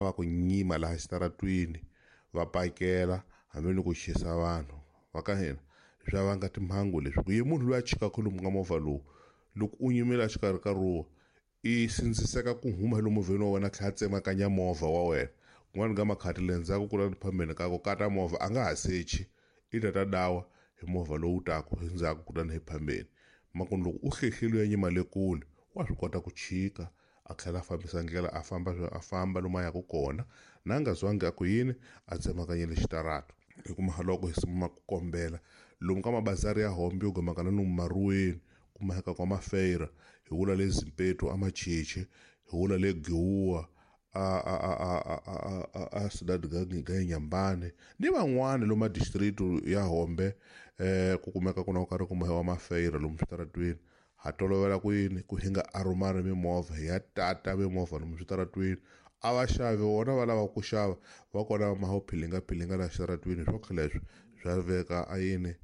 Va ku nyima laha xitaratwini va pakela hambi ni ku chisa vanhu va ka hina swa vanga timhangu leswi ku ye munhu loyi a chikaka lomu ka movha lowu loko u nyimile a xikarhi ka ruwa i sindziseka ku huma lomu movheni wa wena a tlhela a tsemakanya movha wa wena kun'wana ka makhati le ndzhaku ku la phambeni ka ku kata movha a nga ha sechi i ta ta dawa hi movha lowu taku endzhaku kutani hi phambeni makunu loko u hlehlile u ya nyima le kule wa swi kota ku chika a tlhela a fambisa ndlela a famba a famba lomu a yaka kona na nga zwangi a ku yini a tsemakanyile xitarata hi kuma loko hi sungula ku kombela lomu ka mabazari ya hombe yo gomaka na lomu maruweni kumeka kwa mafeira hi wula le zimpeto amacheche hi wula le giwuwa a a a a a a a sidadi ga nyambane ni van'wani lomu district ya hombe ku kumeka ku na ku karhi ku mahewa mafeira lomu switaratweni ha tolovela ku yini ku hi nga arumari mimovha hi ya tata mimovha lomu switaratweni a va xavi vona va lava ku xava va kona va maho philinga philinga la xitaratweni swo leswi swa veka a yini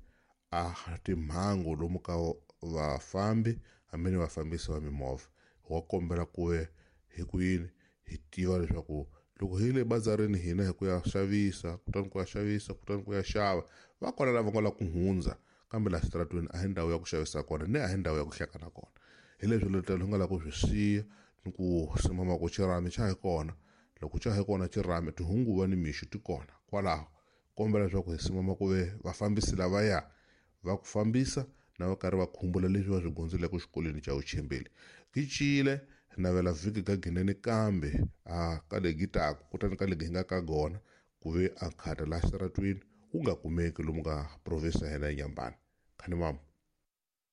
a timhangu lomu ka vafambi hambi ni vafambisi va mimovha wa kombela ku ve hi ku yini hi tiva leswaku loko hi le bazarini hina hi ku ya xavisa kutani ku ya xavisa kutani ku ya xava va kona lava nga lava ku hundza kambe laha xitaratweni a hi ndhawu ya ku xavisa kona ni a hi ndhawu ya ku hlekana kona hi leswi letelo hi nga lava ku swi siya ni ku simama ku xirhami xa hi kona loko xa hi kona xirhami tihunguva ni mixo ti kona kwalaho kombela leswaku hi simama ku ve vafambisi lavaya va ku fambisa na va karhi va khumbula leswi va swi gondzeleke xikolweni xa vuchembeli gicile navela vhiki ka ginene kambe a ka legi taku kutani ka legi hi nga ka gona ku ve a khata laha xitaratwini wu nga kumeki lomu ka province ya hina ya Nyambani khani mama.